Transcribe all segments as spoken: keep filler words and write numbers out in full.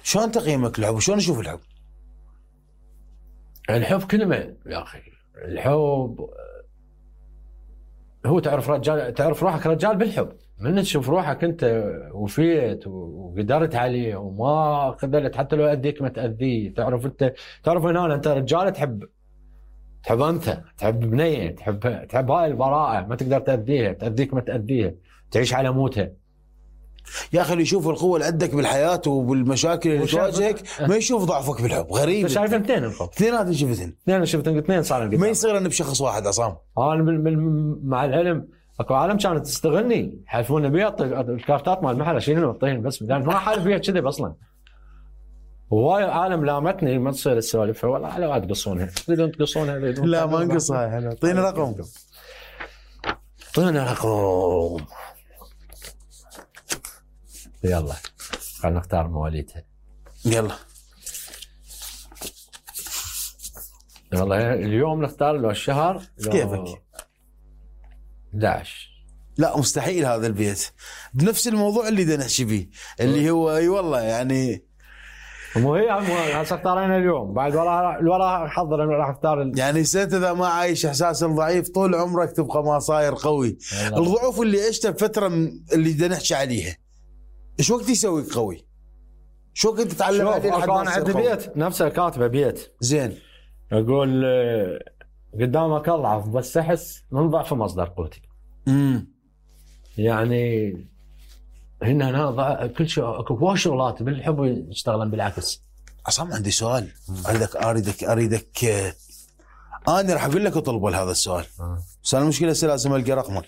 شلون تقييمك الحب وشلون تشوف الحب؟ الحب كلمة يا أخي. الحب هو تعرف رجال، تعرف روحك رجال بالحب. من تشوف روحك أنت وفيت وقدرت عليه وما قدرت حتى لو أذيك ما تأذيه، تعرف أنت تعرف هنا أنت رجال تحب تحب أنت تحب بنية، تحب تحب هاي البراءة، ما تقدر تأذيها، تأذيك ما تأذيها، تعيش على موتها. يا اخي اللي يشوف القوه اللي عندك بالحياه وبالمشاكل اللي تواجهك ما يشوف ضعفك بالحب. غريب. انت شايف اثنين الحب، اثنينات شفتن اثنين شفتن اثنين صار ما يصير انا بشخص واحد عصام. انا مع العلم اكو عالم كانت تستغلني، حلفونا بيها الكارتات مال المحل اشيلهم واعطيهم بس، لان ما حالف بيها كذب اصلا. وهواي عالم لامتني ما تصير السوالف ولا على وقت تقصونها، تريدون تقصونها لا ما نقصها احنا. اعطينا رقم، اعطينا رقم. يلا خلينا نختار مواليدها. يلا والله اليوم نختار لو الشهر لو كيفك؟ احد عشر. لا مستحيل هذا البيت بنفس الموضوع اللي بدنا نحكي فيه اللي هو اي والله يعني مو هي هسه اختارينا اليوم بعد ورا الورا حضر راح اختار يعني سنت اذا ما عايش احساس الضعيف طول عمرك تبقى ما صاير قوي. الضعف اللي عشته بفتره اللي بدنا نحكي عليها ايش وقت يسويك قوي؟ شو وقت تتعلم عليه لحد ما تصير قوي؟ بيت نفسه كاتبه بيت زين اقول قدامك اضعف بس احس من ضعف مصدر قوتي. امم يعني هنا انا كل شيء اكو هواي شغلات بالحب يشتغلن بالعكس. عصام عندي سؤال اريدك اريدك اريدك انا راح اقول لك اطلب هذا السؤال بس انا المشكله لازم القى رقمه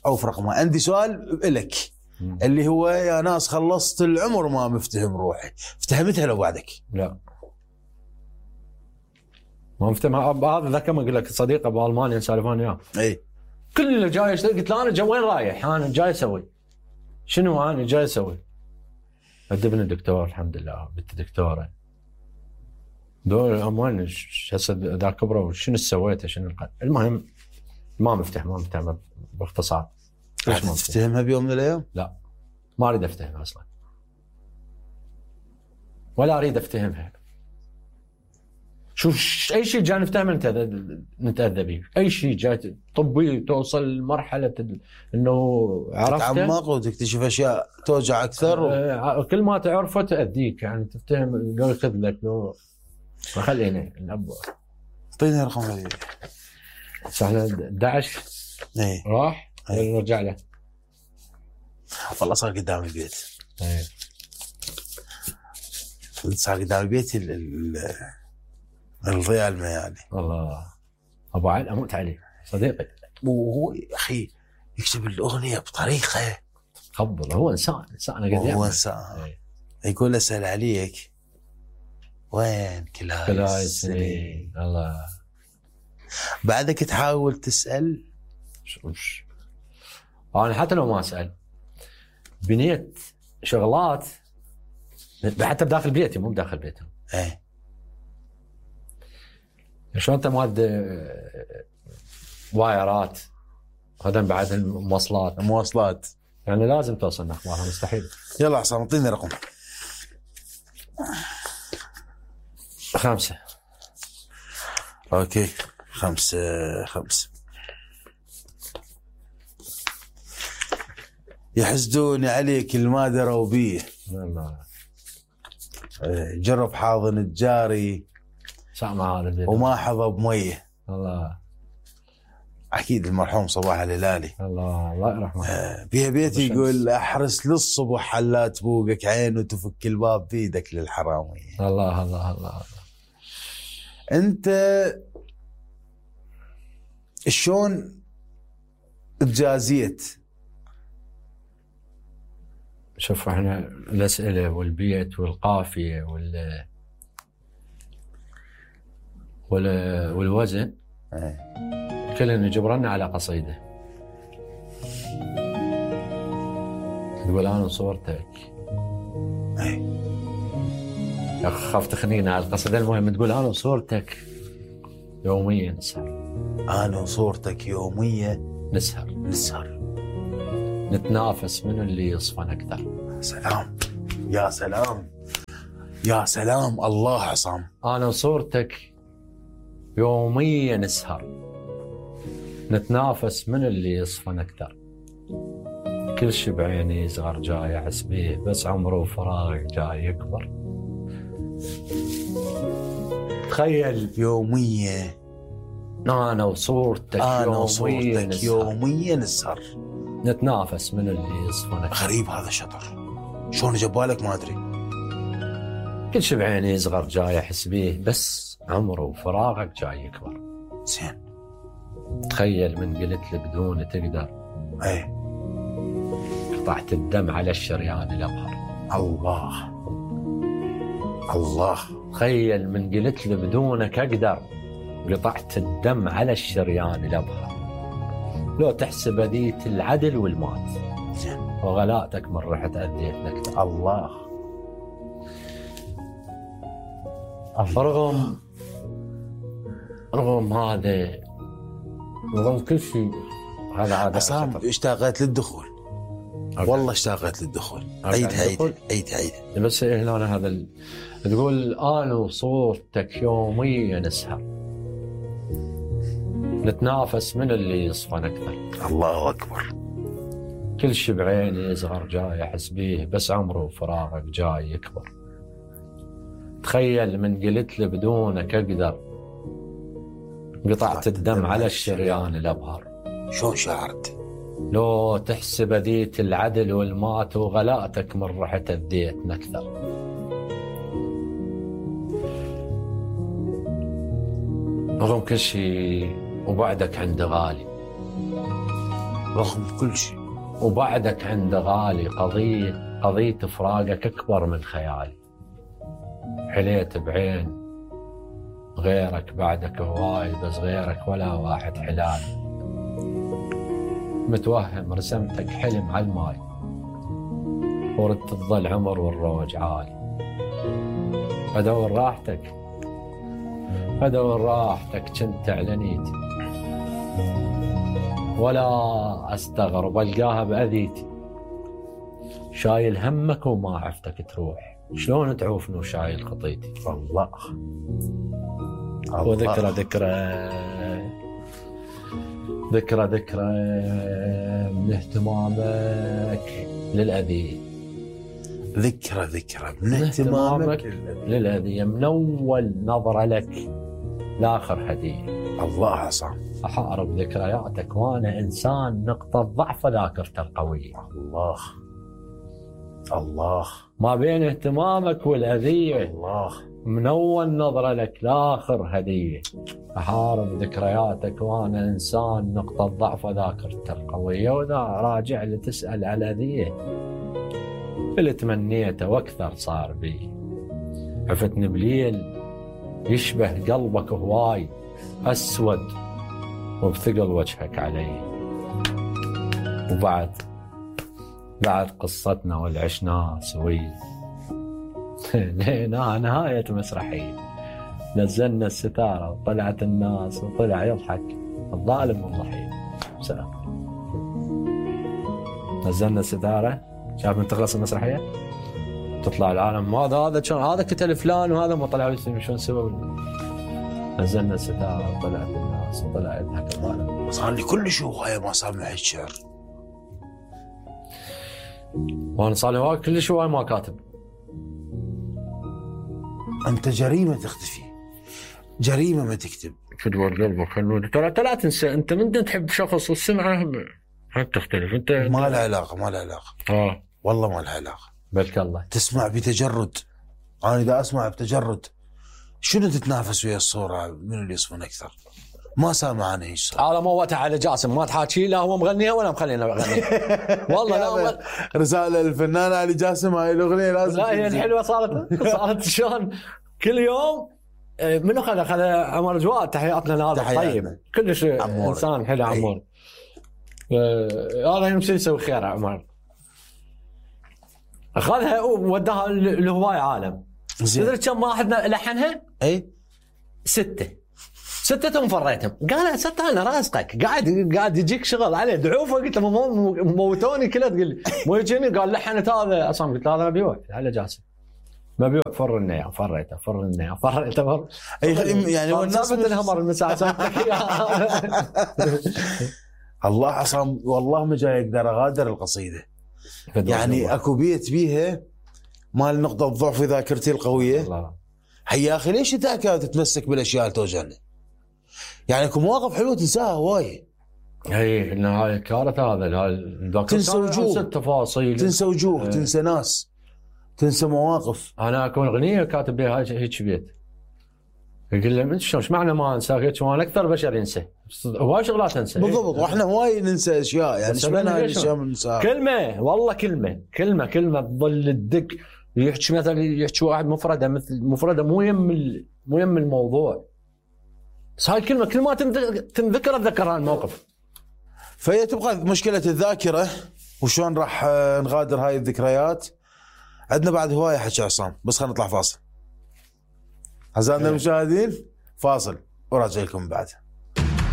او في رقمه. عندي سؤال لك اللي هو يا ناس خلصت العمر ما مفتهم روحي، افتهمتها لو بعدك؟ لا ما مفتهمها. هذا ذاك ما اقول لك صديقه بالمانيا سالفان اياه اي كل اللي جاي اشتغل قلت له انا جاي وين رايح؟ انا جاي اسوي شنو؟ انا جاي اسوي ادبني الدكتور الحمد لله بنت دكتوره دول اموال هسه ذا كبره شنو سويته شنو القد. المهم ما مفتح ما مفتح باختصار. ليش ما تفتهمها بيوم من الايام؟ لا ما اريد افتهمها اصلا ولا اريد افتهمها. شوف اي شيء جاي نفتهم نتاذى به، اي شيء جاي طبي توصل لمرحله انه عرفت تتعمق وتكتشف اشياء توجع اكثر و... كل ما تعرفه تاذيك يعني تفتهم قال خذ لك لو خلينا الاب اعطيني رقم هذه احنا احد عشر اي راح نرجع له والله صار قدام البيت اي صار قدام البيت ال ال الضياء الميالي. والله ابو علي اموت عليه صديقي وهو اخي يكتب الاغنيه بطريقه خبل. هو انسان انسان قد هو انسان يقول اسال عليك وين كل هاي السنين الله بعدك تحاول تسال. شوش انا حتى لو ما اسال بنيت شغلات حتى بداخل بيتي مو بداخل بيتهم. ايه شلون انت مواد وايرات هذا بعد المواصلات المواصلات يعني لازم توصلنا اخبارها مستحيل. يلا عصام اعطيني رقم. خمسة. اوكي خمسة خمسة. يحسدون عليك الما دروا بيه جرب حاضن الجاري سامع هذا وما حظى بميه. الله اكيد المرحوم صباح الهلالي الله الله يرحمه. آه بيها بيتي يقول احرس للصبح حلا تبوقك عين وتفك الباب بيدك للحرامي. الله الله الله. انت شلون تجازيت؟ شوف احنا الاسئله والبيت والقافيه وال والوزن كلنا جبرنا على قصيده تقول انا صورتك يا خاف تخنينا على القصيده. المهم تقول انا صورتك يوميا نسهر انا صورتك يوميا نسهر نسهر نتنافس من اللي يصفن اكثر. سلام يا سلام يا سلام الله عصام. انا وصورتك يوميا نسهر نتنافس من اللي يصفن اكثر. كل شي بعيني صغر جاي احس بيه، بس عمره وفراغ جاي يكبر. تخيل يوميا انا وصورتك انا يوميا وصورتك نسهر. يوميا نسهر نتنافس من اللي يصفن اكثر. غريب هذا الشطر، شلون جبالك ما ادري. كل شي بعيني يصغر جاي احس بيه، بس عمره وفراغك جاي يكبر. زين. تخيل من قلت لي بدون تقدر، اي قطعت الدم على الشريان الابهر. الله الله. تخيل من قلت لي بدونك اقدر، قطعت الدم على الشريان الابهر. لو تحسب اذيت العدل والمات، زين. وغلاتك من رحت اذيتنا اكثر. الله. رغم رغم هذا، رغم كل شيء هذا هذا عصام اشتاقت للدخول. أوكي. والله اشتاقت للدخول. أوكي. عيد عيد الدخول. عيد عيد. بس هنا هذا ال... تقول انا وصورتك يوميا نسهر نتنافس من اللي يصفن اكثر. الله اكبر. كل شي بعيني يصغر جاي احس بيه، بس عمره وفراغك جاي يكبر. تخيل من قلت لي بدونك اقدر، قطعت الدم على الشريان الابهر. شلون شعرت؟ لو تحسب اذيت العدل والمات، وغلاتك من رحت اذيتنا اكثر. رغم كل شيء وبعدك عند غالي، رغم كل شيء وبعدك عند غالي، قضية قضية فراقك أكبر من خيالي. حليت بعين غيرك بعدك هواي، بس غيرك ولا واحد حلال. متوهم رسمتك حلم على الماي، وردت تظل عمر والروج عالي. أدور راحتك أدور راحتك كنت على نيتي، ولا أستغرب ألقاها بأذيتي. شايل همك وما عفتك تروح، شلون تعوفني وشايل خطيتي. الله. وذكرى ذكرى ذكرى ذكرى من اهتمامك للأذية. ذكرى ذكرى من اهتمامك للأذية، من أول نظرة لك لآخر هدية. الله عصام. أحارب ذكرياتك وأنا إنسان نقطة ضعف ذاكرته القوية. الله الله. ما بين اهتمامك والأذية، الله. من أول نظرة لك لآخر هدية. أحارب ذكرياتك وأنا إنسان نقطة ضعف ذاكرته القوية. وإذا راجع لتسأل على الأذية اللي تمنيته وأكثر صار بي. عفتني بليل يشبه قلبك هواي، أسود وبثقل وجهك علي. وبعد بعد قصتنا والعشنا سوي لينا نهاية مسرحية. نزلنا الستارة وطلعت الناس وطلع يضحك الظالم والضحية. سلام. نزلنا الستارة، شاف من تخلص المسرحية تطلع العالم هذا هذا شلون هذا كتل فلان وهذا ما طلعوا شلون سووا. نزلنا الستارة وطلعت الناس وطلع يضحك الظالم. صار لي كل شيء هواية ما صار معي الشعر. وانا صار لي هواي كل شيء ما كاتب. انت جريمة تختفي، جريمة ما تكتب. تدور قلبك خلوني ترى لا تنسى. انت من تحب شخص والسمعة هم تختلف. انت ما له علاقة ما له علاقة. اه والله ما له علاقة. بلك الله تسمع بتجرد. انا اذا اسمع بتجرد شنو تتنافس ويا الصورة من اللي يصفون اكثر؟ ما سامع عنه ايش صار. هذا موتها على جاسم ما تحاكي لا هو مغنيها ولا مخلينا اغنيها. والله لا أول... رسالة للفنان علي جاسم هاي الاغنية لازم. لا هي الحلوة صارت صارت شلون كل يوم. منو خذ خذ عمر جواد. تحياتنا لهذا الطيب كلش انسان حلو عمور. هذا يمشي يسوي خير عمر. اخذها ووداها لهواي عالم. تدري كم واحد لحنها؟ اي ستة ستتهم فريتهم. قال ستة انا راسقك قاعد قاعد يجيك شغل عليه دعوفه. قلت له موتوني كلها تقول لي مو يجيني. قال لحنت هذا اصلا. قلت له هذا مبيوع على جاسم. مبيوع فر النيا فريته فر النيا فريته فر اي يعني هو الناس سالفه الهمر المساعد الله عصام والله ما جاي اقدر اغادر القصيده. يعني اكو بيت بيها مال نقطه ضعف في ذاكرتي القويه. الله يا اخي ليش انت تتمسك بالاشياء اللي توجعني؟ يعني اكو مواقف حلوه تنساها هواي. اي انه كانت هذا تنسى وجوه تفاصيل، تنسى وجوه اه. تنسى ناس، تنسى مواقف. انا اكون اغنيه كاتب بها هيك بيت يقول له انت شلون ايش معنى ما انسى؟ قلت وانا اكثر بشر ينسى هواي شغلات انسى. بالضبط. واحنا هواي ننسى اشياء. يعني ايش معنى هاي الاشياء بننساها؟ كلمه والله كلمه كلمه كلمه تظل تدق. يحكي مثلا يحكي واحد مفرده مثل مفرده مو يم مو يم الموضوع، بس هاي الكلمه كل ما تنذكر اتذكر الموقف. فهي تبقى مشكله الذاكره وشلون راح نغادر هاي الذكريات. عندنا بعد هوايه حكي عصام، بس خلينا نطلع فاصل. أعزائنا المشاهدين فاصل وراجع لكم بعد.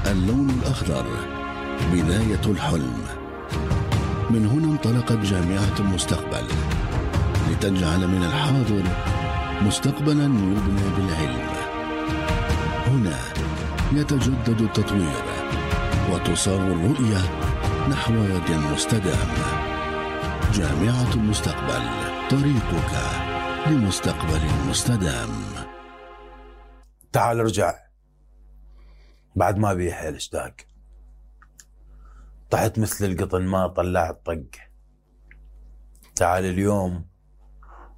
اللون الأخضر بداية الحلم. من هنا انطلقت جامعة المستقبل لتجعل من الحاضر مستقبلا يبنى بالعلم. هنا يتجدد التطوير وتصار الرؤية نحو واد مستدام. جامعة المستقبل، طريقك لمستقبل مستدام. تعال ارجع بعد ما بي حيل اشتاق، طحت مثل القطن ما طلعت طق. تعال اليوم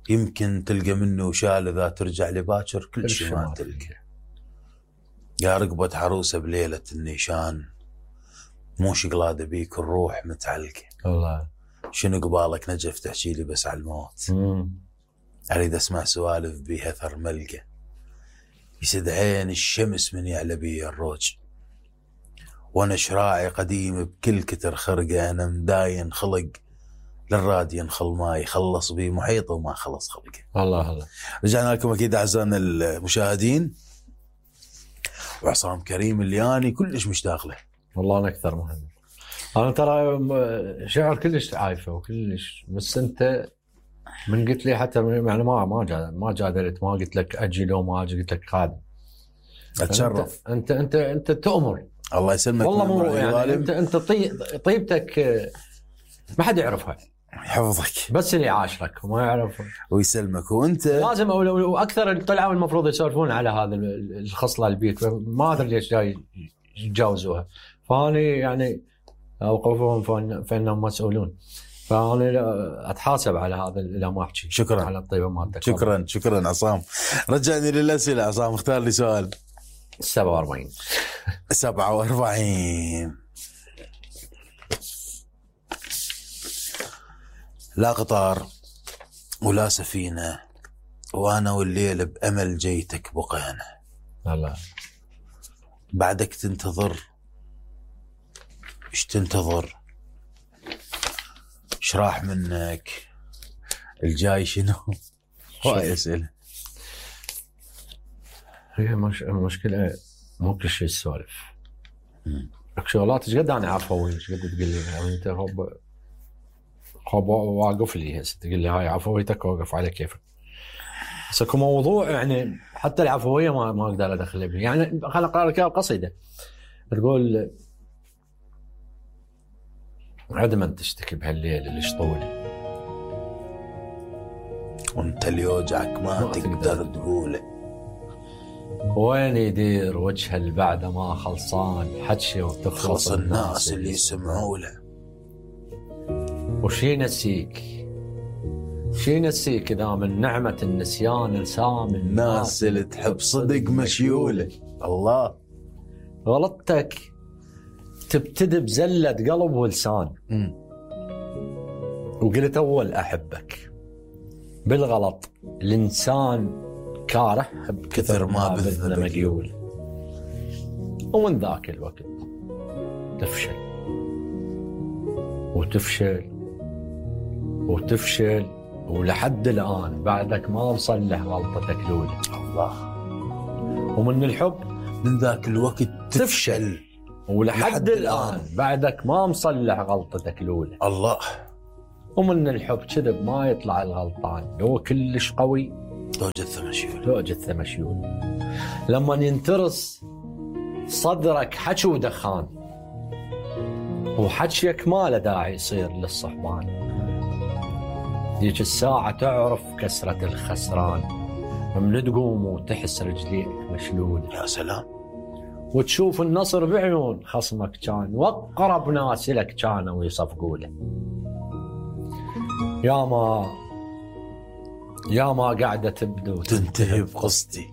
يمكن تلقى منه شال، اذا ترجع لباكر كل شيء ما تلقى. يا رقبة عروسة بليلة النيشان، مو شقلادة بيك الروح متعلقة. والله شنو قبالك نجف تحكي لي بس على الموت. مم. اريد اسمع سوالف بيها ثر ملقى، يسد عين الشمس من يعلى بي الروج، وانا شراعي قديم بكل كتر خرقه. انا مداين خلق للراد ينخل ما يخلص بي محيطه وما خلص خلقه. الله الله. رجعنا لكم اكيد اعزائنا المشاهدين، وعصام كريم اللي اني كلش مشتاق له. والله انا اكثر مهم. انا ترى شعر كلش عايفه وكلش، بس انت من قلت لي حتى يعني ما ما جا ما جادلت، ما قلت لك اجي لو ما اجي، قلت لك خادم. اتشرف. انت انت انت تؤمر. الله يسلمك والله مو يعني انت انت طيبتك ما حد يعرفها. يحفظك. بس اللي عاشرك وما يعرف. ويسلمك. وانت لازم واكثر اللي طلعوا المفروض يسولفون على هذا الخصله البيت، ما ادري ليش جاي يتجاوزوها. فاني يعني اوقفهم فانهم مسؤولون، فأنا أتحاسب على هذا اللي ما أحكي. شكرا على الطيبة مالتك. شكرا شكرا عصام. رجعني للأسئلة عصام، اختار لي سؤال. سبعة وأربعين سبعة وأربعين. لا قطار ولا سفينة، وأنا والليل بأمل جيتك بقينا. الله. بعدك تنتظر، إيش تنتظر؟ ايش راح منك؟ الجاي شنو؟ هاي اسئله. هي مش مشكله مو كل شيء السوالف. شغلات ايش قد انا عفوي، ايش قد تقول لي يعني انت هوب هوب واقف لي هسه تقول لي هاي عفويتك واقف على كيفك. بس اكو موضوع يعني حتى العفويه ما ما اقدر ادخل بيه. يعني خليني اقرا لك قصيده تقول: عدما تشتكي بهالليل اللي شطولي، وانت اللي يوجعك ما, ما تقدر تقوله، وين يدير وجه اللي بعده ما خلصان حكي وتخلص الناس اللي يسمعوا له. وشي نسيك شي نسيك إذا من نعمة النسيان لسام الناس اللي تحب صدق مشيوله. الله. غلطتك تبتدي بزلة قلب ولسان. م. وقلت أول أحبك، بالغلط الإنسان كاره بكثر ما بذل مقيول. ومن ذاك الوقت تفشل وتفشل وتفشل ولحد الآن بعدك ما مصلح غلطتك الأولى. الله. ومن الحب من ذاك الوقت تفشل ولحد لحد الآن بعدك ما مصلح غلطتك الأولى. الله. ومن الحب كذب ما يطلع الغلطان، لو كلش قوي لو جثة مشيول لو جثة مشيول. لما ينترس صدرك حكي ودخان، وحكيك ما له داعي يصير للصحبان. ديك الساعة تعرف كسرة الخسران، من تقوم وتحس رجليك مشلول. يا سلام. وتشوف النصر بعيون خصمك كان، واقرب ناس لك كانوا يصفقوا له. يا ما يا ما قاعدة تبدو تنتهي بقصدي.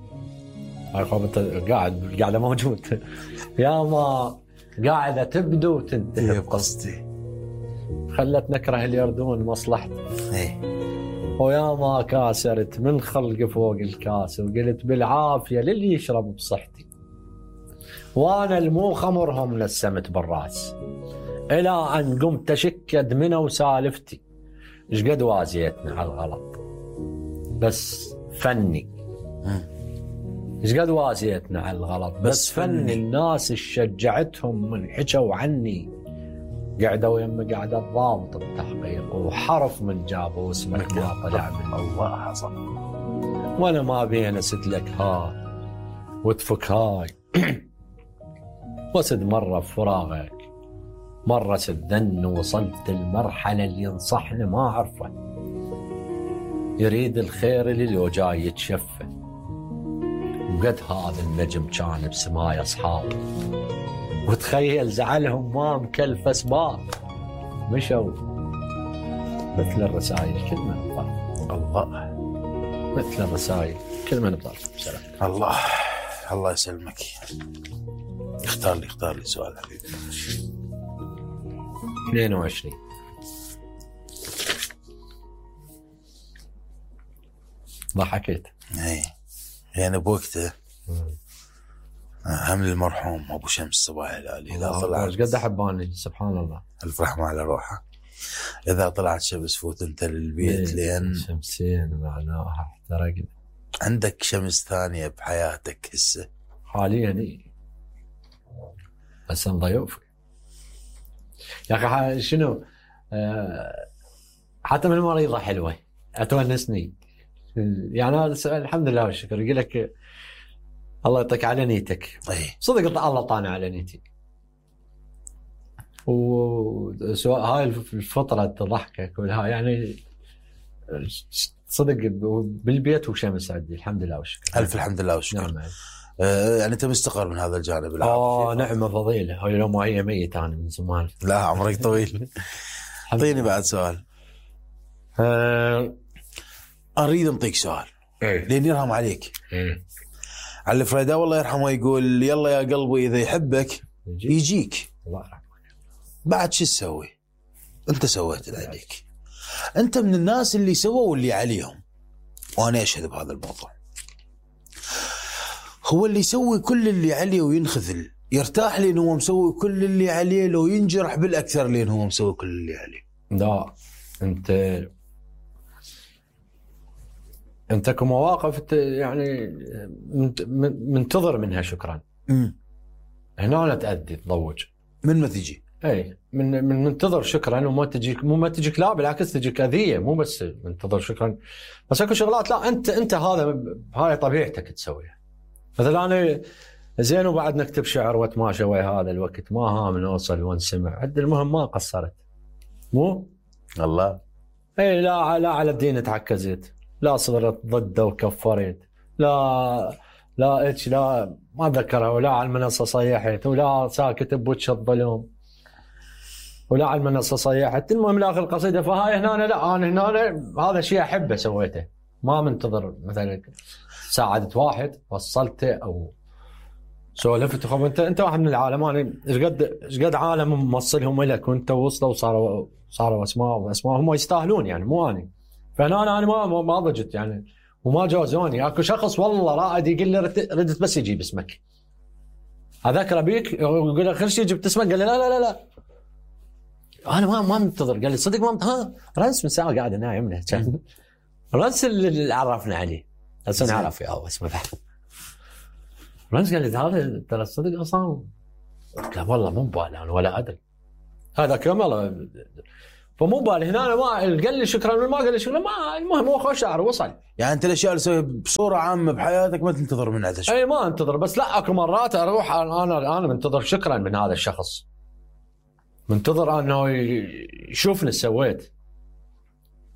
هاي خبط قاعد قاعدة موجود. يا ما قاعدة تبدو تنتهي بقصدي، خلت نكره اليردون مصلحتي. ايه. ويا ما كاسرت من خلق فوق الكاس، وقلت بالعافية للي يشرب بصحتي، وانا المو خمرهم لسمت بالراس، الى ان قمت اشكد منه وسالفتي. ايش قد وازيتنا على الغلط بس فني، ايش قد وازيتنا على الغلط بس, بس فني. الناس شجعتهم من حكوا عني، قعدوا يم قعدة ضابط التحقيق، وحرف من جابوا واسمك ما طلع من الله حصل. وانا ما بين سد لك ها وتفك هاي. وسد مرة فراغك، مرة سدن، وصلت المرحلة اللي ينصحني ما أعرفه، يريد الخير اللي لو جاي يتشفى. وقد هذا النجم كان بسماي أصحاب، وتخيل زعلهم ما مكلف أسباب، مشوا مثل الرسائل كل من بطرف. الله. مثل الرسائل كل من بطرف. سلام. الله الله يسلمك. اختار لي اختار لي سؤال حبيبي. اثنين وعشرين. ضحكت. اي يعني بوقته هم المرحوم ابو شمس صباح الهلالي اذا طلع ايش قد احباني سبحان الله، الف رحمه على روحه. اذا طلعت شمس فوت انت للبيت لين شمسين معناها احترقنا. عندك شمس ثانيه بحياتك هسه حاليا؟ اي بس ضيوفي يا اخي شنو أه حتى من المريضه حلوه اتونسني يعني. هذا الحمد لله والشكر. يقول لك الله يعطيك على نيتك. أي. صدق الله طانع على نيتي. وسواء هاي الفتره ضحكك ولا يعني صدق بالبيت وشمس عندي الحمد لله والشكر. الف الحمد لله والشكر. نعم. آه يعني انت مستقر من هذا الجانب العام. اه نعمه فضيله. هاي لو ما هي ميت انا من زمان. لا عمرك طويل. اعطيني بعد سؤال. أه اريد انطيك سؤال. ايه لين يرحم عليك. ايه على الفريداء والله يرحمه يقول يلا يا قلبي اذا يحبك يجيك, يجيك. الله يرحمك. بعد شو تسوي؟ انت سويت اللي عليك. انت من الناس اللي سووا اللي عليهم، وانا اشهد بهذا الموضوع. هو اللي يسوي كل اللي عليه وينخذل يرتاح لين هو مسوي كل اللي عليه، لو ينجرح بالاكثر لين هو مسوي كل اللي عليه. لا انت انت كمواقف يعني منتظر منها شكرا. امم هنا لا تأدي تضوج من ما تجي. اي من من منتظر شكرا، وما تجيك مو ما تجيك لا بالعكس تجيك اذيه، مو بس منتظر شكرا. بس اكو شغلات لا انت انت هذا هاي طبيعتك تسويها. مثلا انا زين وبعد نكتب شعر واتماشى ويا هذا الوقت، ما هام نوصل ونسمع عد، المهم ما قصرت. مو الله. اي لا لا على الدين تعكزت، لا صرت ضده وكفرت، لا لا اتش لا ما ذكرها، ولا على المنصه صيحت، ولا ساكت بوجه الظلم، ولا على المنصه صيحت. المهم لاخر القصيده. فهاي هنا لا انا هنا هذا شيء احبه سويته، ما منتظر مثلا ساعدت واحد وصلته او سولفت. خب انت انت واحد من العالم، انا ايش قد ايش قد عالم موصلهم لك وانت وصلوا وصاروا صاروا اسماء واسماء هم يستاهلون يعني، مو انا. فانا انا ما ما ضجت يعني وما جوزوني. اكو شخص والله رائد يقول لي ردت بس يجيب اسمك، اذكر بيك يقول لي خير شيء جبت اسمك، قال لي لا لا لا لا انا ما ما منتظر. قال لي صدق ما منتظر. ها رنس من ساعه قاعد نايم له كان رنس اللي عرفنا عليه هسه نعرف يا اسمه بعد. رنس قال لي هذا ترى صدق اصلا. قال والله مو ببالي انا ولا ادري هذا كمل. فمو بالي هنا أنا ما قال لي شكرا ما قال لي شكرا ما المهم هو خوش شعر وصل. يعني انت الاشياء اللي تسويها بصوره عامه بحياتك ما تنتظر من عندها شيء. اي ما انتظر، بس لا اكو مرات اروح انا انا منتظر شكرا من هذا الشخص، منتظر انه يشوفني سويت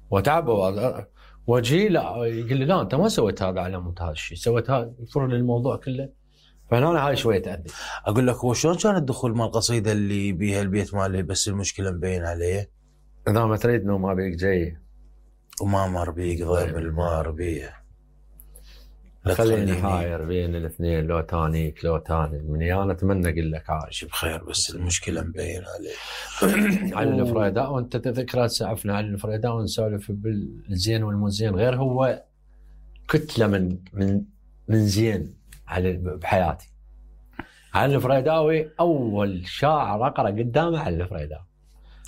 وتعب واجي لا يقول لي لا انت ما سويت هذا على مود هذا الشيء، سويت هذا يفر لي الموضوع كله. فهنا هاي شويه تأذي. اقول لك هو شلون كان الدخول مال القصيده اللي بيها البيت ماله بس المشكله مبين عليه؟ اذا ما تريد انه ما بيك جاي وما مر بيك ضيب المار بيه، خليني حاير بين الاثنين لو تانيك لو تاني مني انا اتمنى اقول لك عايش بخير بس المشكله مبين عليه. علي الفريداء وانت تذكر سعفنا علي الفريداء ونسولف بالزين والمزين، غير هو كتله من من من زين على بحياتي. علي الفريداوي اول شاعر اقرا قدامه علي الفريداوي.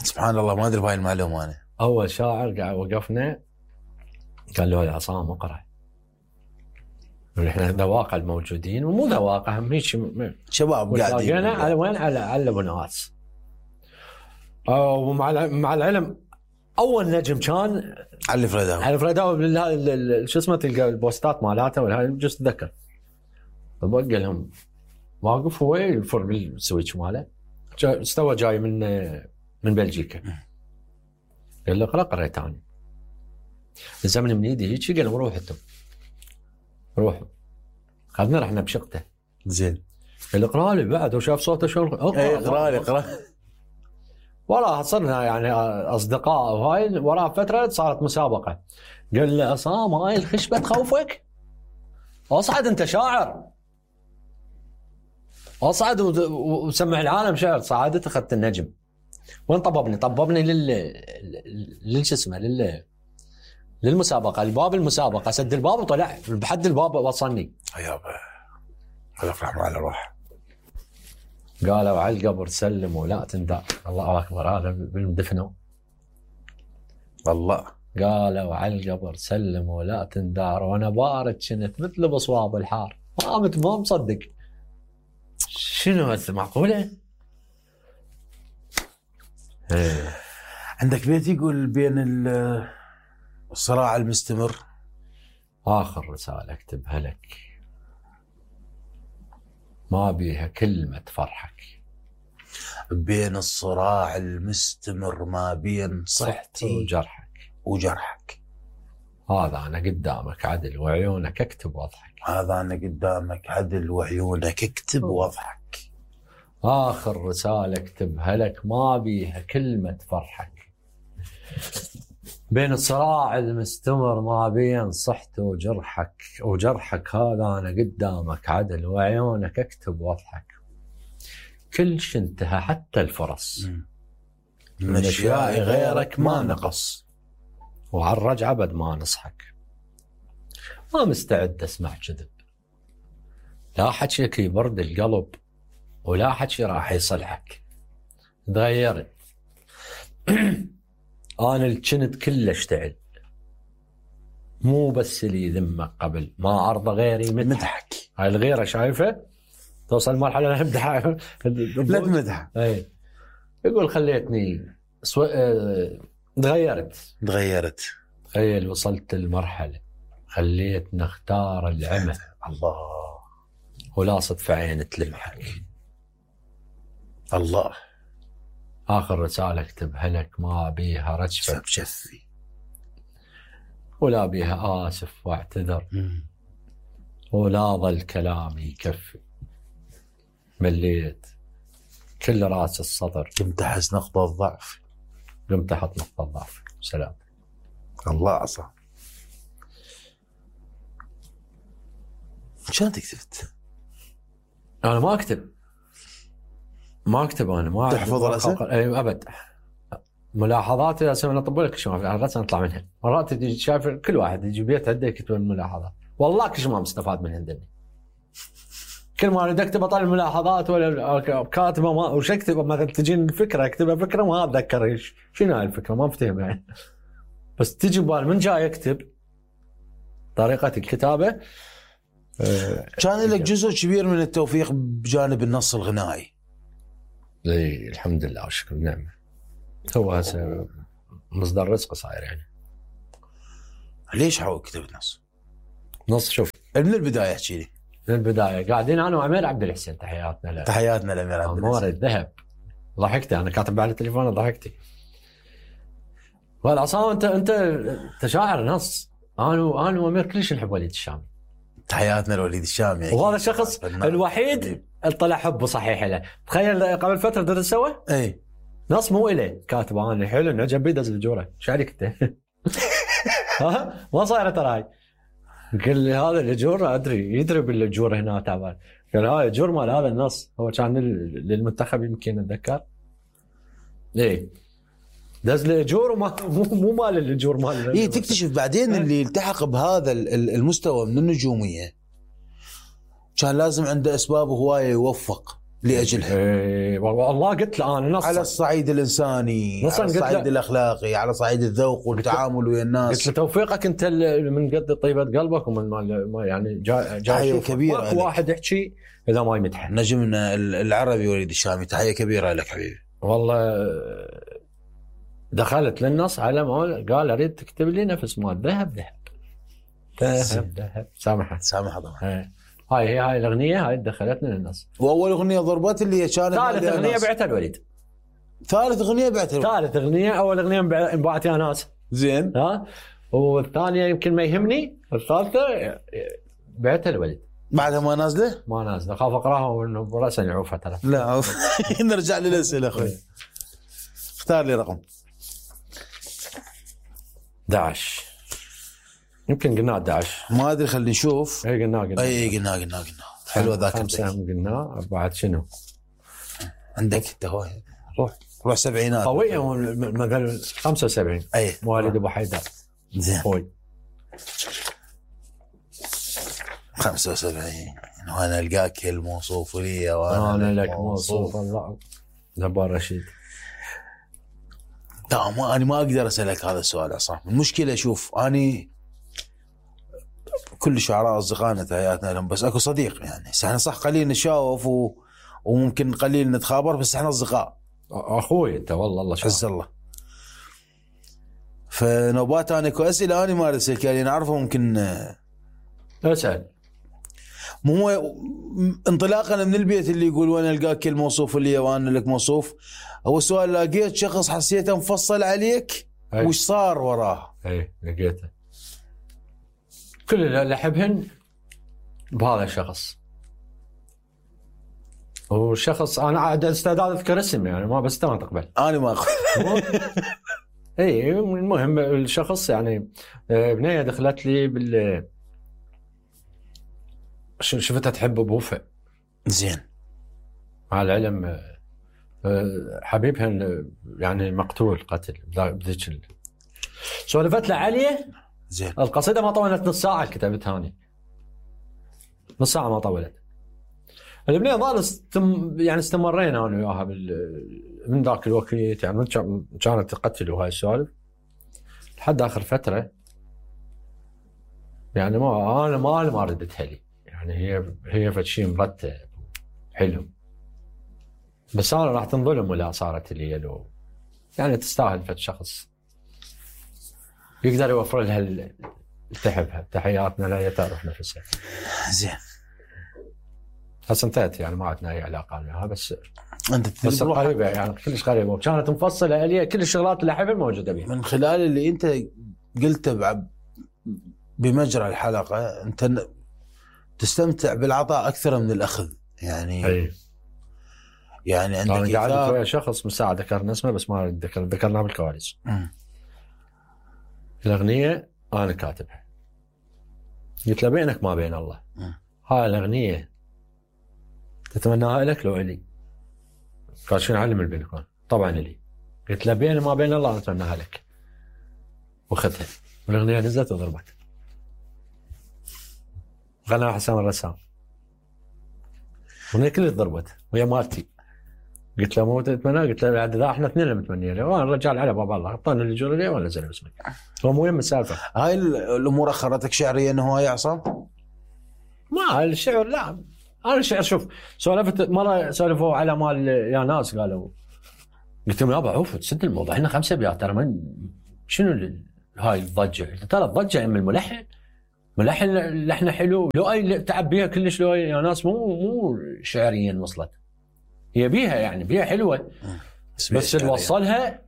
سبحان الله ما ادري بهاي المعلومه انا. اول شاعر قاعد وقفنا قال له يا عصام اقرا. احنا ذواقع الموجودين ومو ذواقع هم هيك شباب قاعدين على وين على على بناس. ومع مع العلم اول نجم كان علي الفريداوي. علي الفريداوي شو اسمه تلقى البوستات مالاته ولا هاي جست اتذكر. فبقى لهم واقف هو يفر بالسويتش ماله استوى جاي من من بلجيكا. قال له اقرا قريت انا. الزمن من ايدي هيك قال له روح انتم روحوا. خذنا رحنا بشقته. زين. قال له اقرا لي بعد وشاف صوته شلون اقرا لي اقرا. والله صرنا يعني اصدقاء وهاي وراء فتره صارت مسابقه. قال له عصام هاي الخشبه تخوفك؟ اصعد انت شاعر. اصعد وسمع العالم شعر. صعدت اخذت النجم. وين طببني؟ طببني لل لل شو اسمه لل للمسابقه، الباب المسابقه سد الباب وطلع بحد الباب وصلني. يابا الله يرحمه على روح. قالوا على القبر سلم ولا تندع. الله اكبر هذا بالمدفنه. والله قالوا على القبر سلم ولا تندار وانا بارد كنت مثل بصواب الحار. ما مت ما مصدق. شنو هذا معقوله؟ عندك بيت يقول بين الصراع المستمر. اخر رساله اكتبها لك ما بيها كلمه فرحك. بين الصراع المستمر ما بين صحتي وجرحك وجرحك. هذا انا قدامك عدل وعيونك اكتب واضحك. هذا انا قدامك عدل وعيونك اكتب واضحك. آخر رسالة اكتبها لك ما بيها كلمة فرحك. بين الصراع المستمر ما بين صحته وجرحك وجرحك. هذا أنا قدامك عدل وعيونك اكتب واضحك. كل شي انتهى حتى الفرص. من أشياء غيرك ما نقص وعلى الرجعة بد ما نصحك. ما مستعد أسمع كذب. لا حكيك يبرد القلب ولا حكي راح يصلحك. تغيرت. أنا اللي كنت كله اشتعل. مو بس اللي ذمك قبل ما عرض غيري مدحك. هاي الغيرة شايفة توصل مرحلة امدح لا تمدح. اي يقول خليتني سو... اه... تغيرت تغيرت تخيل وصلت المرحلة خليتنا اختار العمى. الله ولا صدف عين تلمحك. الله. آخر رسالة اكتبها لك ما بيها رجفة بشفي ولا بيها آسف واعتذر. م. ولا ظل كلامي يكفي. مليت كل راس الصدر. قمت أحس نقطة الضعف. قمت أحط نقطة الضعف. سلام. الله عصام. شلون تكتبت؟ أنا ما أكتب ما أكتب أنا ما تحفظ الرسم؟ أي أبد. ملاحظات رسم أنا أطبق لك شو ما في الرسم أطلع منها. مرات تجي شايف كل واحد يجي بيت عنده يكتب الملاحظات. والله كل شيء ما مستفاد من عندني. كل ما أريد أكتب أطلع الملاحظات ولا كاتبة ما وش أكتب مثلا تجيني الفكرة أكتبها فكرة ما أتذكر إيش شنو هاي الفكرة ما أفتهم يعني. بس تجي ببال من جاي أكتب طريقة الكتابة. كان لك جزء كبير من التوفيق بجانب النص الغنائي. اي الحمد لله والشكر نعم. هو هسه مصدر رزق صاير يعني. ليش حاول كتبت نص؟ نص شوف من البدايه احكي لي. من البدايه قاعدين انا وعمير عبد الحسين، تحياتنا له. تحياتنا لامير عبد امور الحسين. الذهب. ضحكت انا كاتب على التليفون ضحكتي. والعصام انت انت انت شاعر نص. انا انا وامير كلش نحب وليد الشامي. تحياتنا لوليد الشامي. وهذا الشخص الوحيد طلع حبه صحيح له. تخيل قبل فتره درس سوا اي نص مو الي كاتب انا حلو انعجب بي دز الجوره. ايش عليك انت؟ ها ما صايره ترى هاي. قال لي هذا الجوره ادري يدري بالجوره هنا تعبان. قال هاي الجور مال هذا النص هو كان للمنتخب يمكن اتذكر. ايه دز لي اجور وما مو مو مال الاجور مال. اي تكتشف بعدين اللي التحق بهذا المستوى من النجوميه كان لازم عنده اسباب هوايه يوفق لاجلها. ايه والله قلت له انا نصا على الصعيد الانساني، على الصعيد الاخلاقي، على صعيد الذوق والتعامل ويا الناس. قلت له توفيقك انت من قد طيبه قلبك ومن ما يعني جاي تحيه كبيره لك. واحد يحكي اذا ما يمدحه. نجمنا العربي وليد الشامي، تحيه كبيره لك حبيبي. والله دخلت للنص على ما قال اريد تكتب لي نفس مال ذهب ذهب ذهب ذهب. سامحه سامحه طبعا. هاي هي هاي الاغنيه هاي دخلتنا للنص. واول اغنيه ضربت اللي هي كانت ثالث اغنيه بعتها الوليد. ثالث اغنيه بعتها ثالث اغنيه. اول اغنيه انباعت يا ناس زين، ها، والثانيه يمكن ما يهمني، الثالثه بعتها الوليد. بعدها ما نازله؟ ما نازله، خاف اقراها وانه براسا يعوفها ترى. لا نرجع للاسئله اخوي. اختار لي رقم. احد عشر يمكن قلنا احد عشر ما ادري، خلينا نشوف. اي قلنا قلنا اي قلنا قلنا قلنا حلوه ذاك. خمسه قلنا بعد شنو عندك انت؟ هو روح روح سبعينات قويه مثلا خمسة وسبعين. اي مواليد ابو حيدر. زين خوي خمسة وسبعين. وانا القاك الموصوف لي وانا لك موصوف. الله جبار رشيد. لا ما انا ما اقدر اسالك هذا السؤال عصام. المشكله شوف اني كل شعراء اصدقائنا تحياتنا لهم، بس اكو صديق يعني احنا صح قليل نشاوف و... وممكن قليل نتخابر، بس احنا اصدقاء. اخوي انت والله الله عز الله. فنوبات انا اكو اسئله انا ما ارسل كان نعرفه ممكن اسال. مو انطلاقا من البيت اللي يقول وانا القاك الموصوف اللي وانا لك موصوف، هو سؤال لقيت شخص حسيته مفصل عليك وش صار وراه؟ اي لقيته. كل اللي احبهن بهذا الشخص. والشخص انا عاد استعداد اذكر اسم يعني ما بس ما تقبل. انا ما اخذ. اي المهم الشخص يعني بنيه دخلت لي بال شفتها تحب بوفاء. زين. مع العلم حبيبها يعني مقتول قتل بذيك. سولفت له عليه. زين. القصيده ما طولت نص ساعه كتبتها اني. نص ساعه ما طولت. البنيه ظل استم يعني استمرينا انا وياها بال من ذاك الوقت يعني كانت تقتل وهاي السوالف لحد اخر فتره. يعني ما انا ما ما ردتها لي يعني هي هي فشي مرتب حلو، بس انا راح تنظلم ولا صارت لي لو يعني تستاهل فد شخص يقدر يوفر لها اللي تحبها. تحياتنا لا تعرف نفسها. زين. هسه انتهت يعني ما عندنا اي علاقه معها، بس انت بس قريبه يعني كلش قريبه وكانت مفصله لي كل الشغلات اللي احبها موجوده بها. من خلال اللي انت قلته بمجرى الحلقه انت تستمتع بالعطاء اكثر من الاخذ يعني. أي. يعني عندك انا قاعد ويا شخص مساعد ذكرنا اسمه بس ما ذكر ذكرناه بالكواليس. الاغنيه انا كاتبها قلت له بينك ما بين الله. م. هاي الاغنيه تتمناها لك لو الي؟ قال شنو علم البينكم؟ طبعا لي. قلت له بين ما بين الله اتمناها لك. واخذها والاغنيه نزلت وضربت. غنى حسام الرسام. الاغنيه كلها ضربت ويا مالتي. قلت له مو تتمنى؟ قلت له بعد ذا احنا اثنين متمنيه له وانا الرجال على باب الله اعطاني اللي جرى لي ولا زين اسمك. هو مو يم السالفه. هاي الامور اخرتك شعريا انه هو يا عصام؟ ما الشعر لا انا الشعر شوف سولفت مره سولفوا على مال يا ناس قالوا قلت لهم يابا عوف تسد الموضوع احنا خمسه ابيات ترى من شنو ال- هاي الضجه؟ ترى الضجه من الملحن ملحن لحنه حلو لو اي تعب بيها كلش لو يا ناس مو مو شعريا وصلت هي بيها يعني بيها حلوه بس اللي وصلها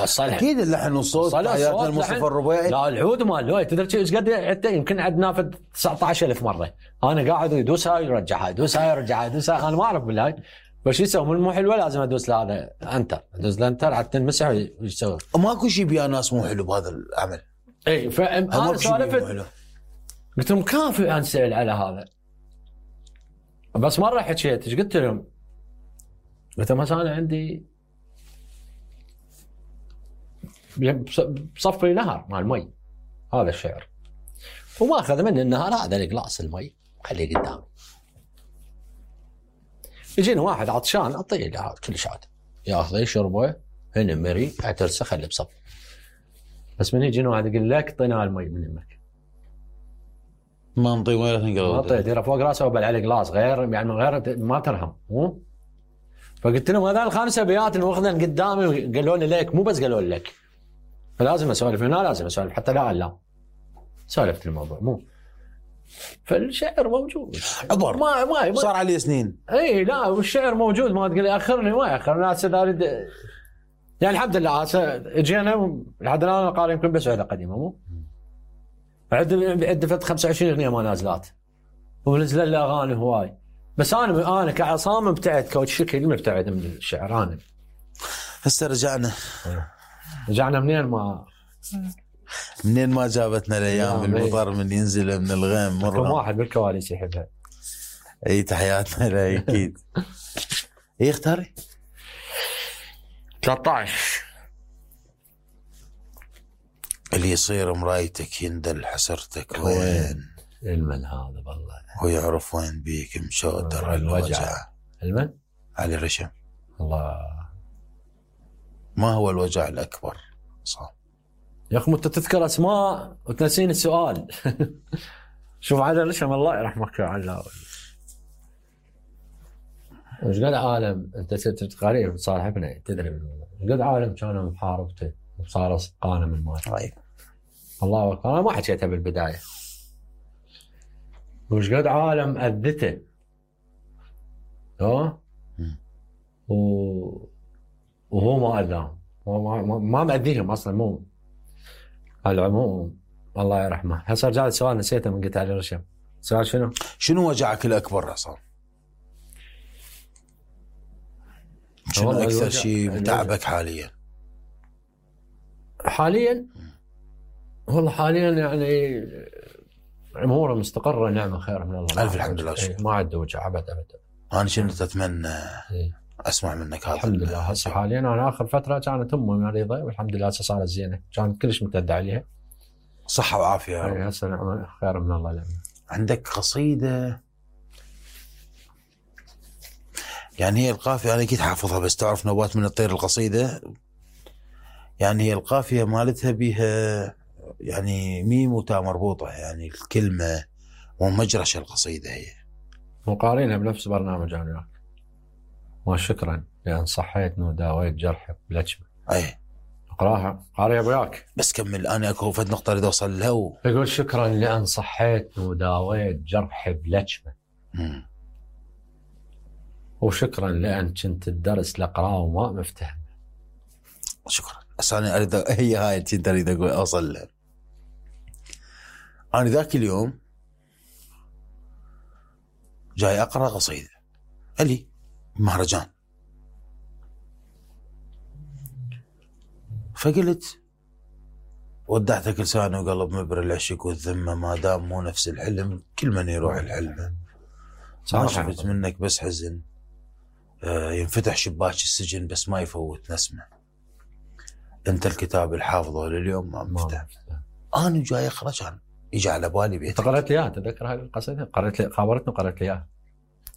وصلها اكيد اللحن والصوت حياتنا المصطفى الربيعي. لا العود مال لوي تدري ايش قد عدته يمكن عندنا في تسعة عشر ألف مره انا قاعد يدوس هاي يرجع هاي يدوس هاي يرجع هاي يدوس هاي انا ما اعرف بالهاي بس شو يسوي من مو حلوه لازم ادوس لهذا انتر ادوس لانتر حتى تنمسح وش يسوي ماكو شيء بيا ناس مو حلو بهذا العمل. اي فانا سالفت قلت لهم كافي انسال على هذا بس مره حكيت ايش قلت لهم؟ قلت لهم هسه انا عندي بصفي نهر مال مي هذا الشعر وما اخذ مني النهر هذا القلاص المي خليه قدامي يجينا واحد عطشان اعطيه له كل شات ياخذه يشربه هنا مري اعترسه خليه بصف بس من يجينا واحد يقول لك اعطينا المي من يمك ما نطي ولا تنقل ما اعطيه ديره فوق راسه وبل عليه قلاص غير يعني من غير ما ترهم مو فقلت لهم هذول الخمسه ابيات اللي واخذين قدامي قالوا لي ليك مو بس قالوا لك فلازم اسولف هنا لازم اسولف حتى لا لا سولفت الموضوع مو فالشعر موجود عبر ما ما صار عليه سنين اي لا والشعر موجود ما تقول لي اخرني ما ياخر ناس اريد يعني الحمد لله اجينا لحد الان قارئ يمكن بس عده قديمه مو عد عد فت خمسة وعشرين اغنيه ما نازلات ونزل لي اغاني هواي بس انا انا كعصام ابتعد كوتش شكل مبتعد من الشعر انا هسه رجعنا رجعنا منين ما منين ما جابتنا الايام المطر من ينزل من الغيم مره كم واحد بالكواليس يحبها اي تحياتنا له اكيد اي اختاري ثلاثة عشر اللي يصير مرايتك يندل حسرتك وين المن هذا والله هو يعرف وين بيك مشودر الوجع المن علي رشم الله ما هو الوجع الأكبر صح يا أخي أنت تذكر أسماء وتنسين السؤال شوف علي رشم الله يرحمك يا علاوي وش قد عالم أنت تقرير صاحبنا تدري وش قد عالم كانوا محاربته وصار قانا من مال طيب الله أكبر أنا ما حكيتها بالبداية وش قد عالم أذته ها و... وهو ما أذاهم ما ما مأذيهم أصلا مو على العموم الله يرحمه. هسه رجع السؤال نسيته من قلت علي رشم السؤال شنو؟ شنو وجعك الأكبر عصام؟ شنو أكثر شيء متعبك حاليا؟ حاليا والله حاليا يعني اموره مستقره نعمه خير من الله الف الحمد لله ما عاد وجع ابد ابد انا كنت اتمنى اسمع منك هذا الحمد لله. هسه حاليا انا اخر فتره كانت امي مريضه والحمد لله هسه صارت زينه كانت كلش متدعي عليها صحه وعافيه يا رب. هسه نعمه خير من الله لنا. عندك قصيده يعني هي القافيه انا اكيد حافظها بس تعرف نوبات من الطير القصيده يعني هي القافيه مالتها بها يعني ميم وتاء مربوطه يعني الكلمه ومجرش القصيده هي وقارينها بنفس برنامج انا وياك ما شكرا لان صحيتني وداويت جرحي بلجمه اي اقراها قاريها وياك بس كمل انا اكو فد نقطه اريد اوصل لها و... يقول شكرا لان صحيتني وداويت جرحي بلجمه مم. وشكرا لان كنت الدرس الاقراه وما مفتهم. شكرا بس انا اريد هي هاي كنت اريد اقول اوصل لها. انا ذاك اليوم جاي اقرا قصيده الي مهرجان فقلت ودعتك لساني وقلب مبر العشق والذمه ما دام مو نفس الحلم كل من يروح الحلم ما شفت منك بس حزن آه ينفتح شباك السجن بس ما يفوت نسمه انت الكتاب الحافظه لليوم ما مفتح. انا جاي اقرا كان يجي على بالي بيتك. قرأت لي اياها تذكر هاي القصيده قرأت لي خابرتني وقرأت لي اياها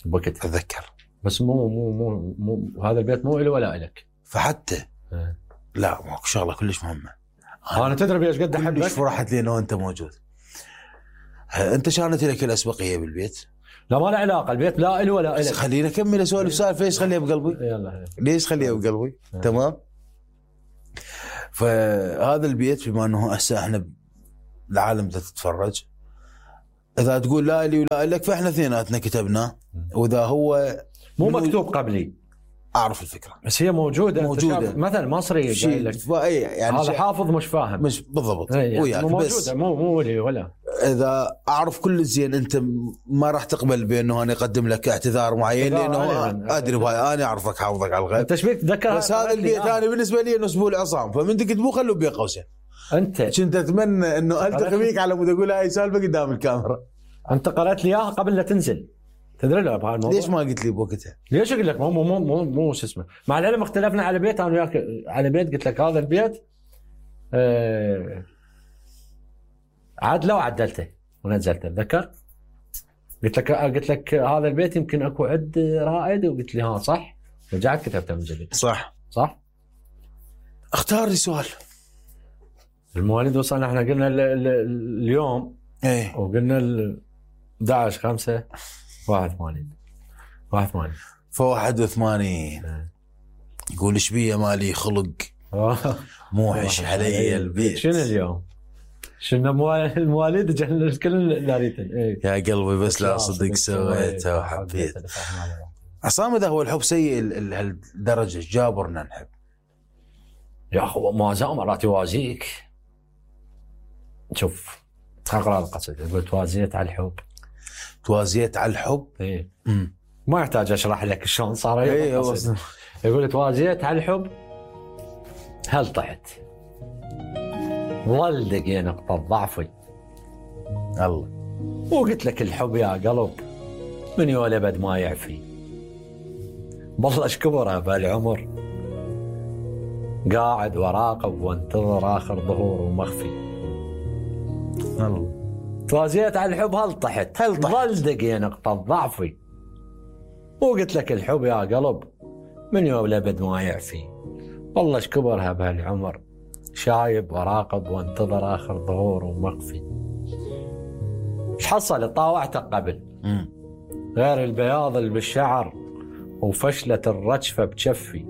بوقت اتذكر بس مو مو مو مو هذا البيت مو إلي ولا إلك فحتى اه. لا ماكو شغله كلش مهمه انا, أنا تدري ايش قد احبك فرحت لي انه انت موجود. انت كانت لك الاسبقيه بالبيت لا ما له علاقه البيت لا إله ولا بس إلك. خلينا نكمل اسولف سالفه. ليش خليها بقلبي؟ يلا ليش خليها بقلبي؟ تمام. فهذا البيت بما انه هسه احنا العالم تتفرج، اذا تقول لا لي ولا لك فاحنا اثنيناتنا كتبناه، واذا هو مو مكتوب قبلي اعرف الفكره بس هي موجوده موجوده مثلا مصري شيء لك يعني هذا حافظ مش فاهم مش بالضبط يعني وياك، موجوده مو مو لي ولا. اذا اعرف كل زين انت ما راح تقبل بانه انا اقدم لك اعتذار معين لانه ادري بهاي انا اعرفك حافظك على الغيب. انت ايش بيك تذكر؟ بس هذا البيت انا آه. بالنسبه لي انه اسبوع العصام، فمن تكتبوه خلوه بين قوسين. انت كنت اتمنى انه التقي بيك على مود اقول هاي سالفه قدام الكاميرا. انت قرأت لي اياها قبل لا تنزل، تدري له بهالموضوع. ليش ما قلت لي بوقتها؟ ليش اقول لك مو مو مو مو شو اسمه، مع العلم اختلفنا على بيت انا وياك على بيت، قلت لك هذا البيت آه عدله وعدلته ونزلته، تذكر؟ قلت لك قلت لك هذا البيت يمكن اكو عد رائد، وقلت لي ها صح، رجعت كتبته من جديد. صح صح. اختار لي سؤال. المواليد وصلنا احنا قلنا ال ال اليوم ايه وقلنا ال احد عشر خمسة واحد وثمانين واحد وثمانين فواحد وثمانين يقول ايش بيه مالي خلق موحش علي البيت. شنو اليوم؟ شنو المواليد جهل كل داريتن. ايه يا قلبي بس لا صدق سويته وحبيت. عصام اذا هو الحب سيء لهالدرجه جابرنا نحب يا اخو ما زال مرات يوازيك. شوف تقرا القصيده يقول توازيت على الحب توازيت على الحب. ايه ما يحتاج اشرح لك شلون صار. ايه يقول توازيت على الحب هل طحت ظل دقي نقطة ضعفي الله، وقلت لك الحب يا قلب من يولد بد ما يعفي، بلش كبره بهالعمر قاعد وراقب وانتظر اخر ظهور ومخفي. الله توازيت على الحب هل طحت هل طحت ظل دقي نقطة ضعفي، وقلت لك الحب يا قلب من يولد بد ما يعفي، بلش كبرها بهالعمر شايب وراقب وانتظر اخر ظهور ومخفي. ايش حصل؟ طاوعتك قبل مم. غير البياض اللي بالشعر وفشلة الرجفة بجفي،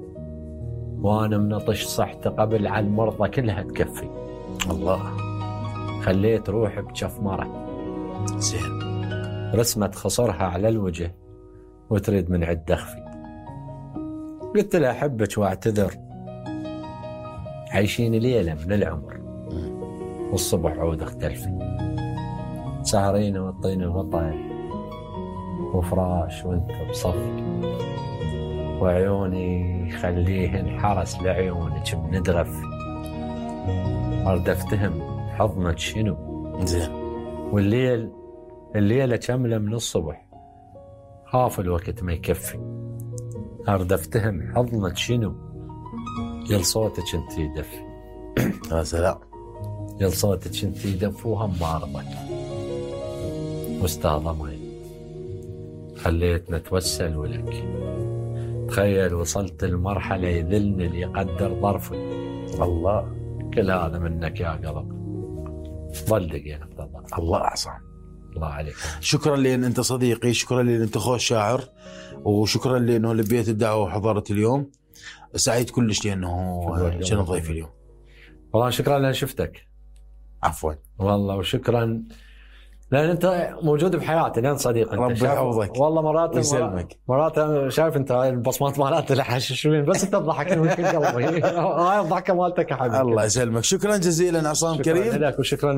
وانا منطش صحت قبل على المرضى كلها تكفي. الله خليت روحي بجف مرة زين رسمت خصرها على الوجه وتريد من عد اخفي. قلت لها احبك واعتذر، عايشين ليلة من العمر والصبح عود اختلفي، سهرين وطين وطن وفراش وانت بصفي، وعيوني خليهن حرس لعيونك بندرف، ارد افتهم حضنك شنو زين، والليل الليلة كاملة من الصبح خاف الوقت ما يكفي، ارد افتهم حضنك شنو يل صوتك انت يدفي. يا سلام يل صوتك انت يدف وهم بارضك واستاذ ضمي خليتنا نتوسل ولك، تخيل وصلت المرحلة يذلني اللي يقدر ظرفي. الله كل هذا منك يا قلب ظل دقيقة بضل. الله أعظم. الله عليك. شكرا لأن أنت صديقي، شكرا لأن أنت أخو الشاعر، وشكرا لأنه لبيت الدعوة وحضرت اليوم. سعيد كلش لأنه كان ضيفي اليوم. والله شكرا لأن شفتك. عفوا والله وشكرا لأن أنت موجود بحياتي لأن صديق. ربي يحفظك. والله مرات ويسلمك. مرات شايف أنت هاي البصمات مالات الحشاشين بس أنت تضحك من كل قلبي. هاي الضحكة مالتك يا حبيبي. الله يسلمك. شكرا جزيلا عصام كريم. شكرا لك وشكرا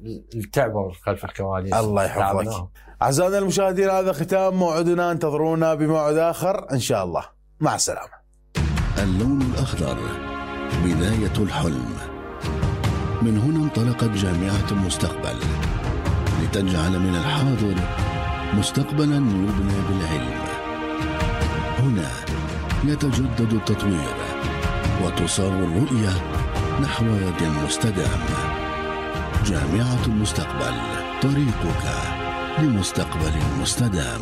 للتعب خلف الكواليس. الله يحفظك. أعزائنا المشاهدين هذا ختام موعدنا، انتظرونا بموعد آخر إن شاء الله. مع السلامة. اللون الأخضر بداية الحلم. من هنا انطلقت جامعة المستقبل لتجعل من الحاضر مستقبلا يبنى بالعلم. هنا يتجدد التطوير وتصار الرؤية نحو يد مستدام. جامعة المستقبل، طريقك لمستقبل مستدام.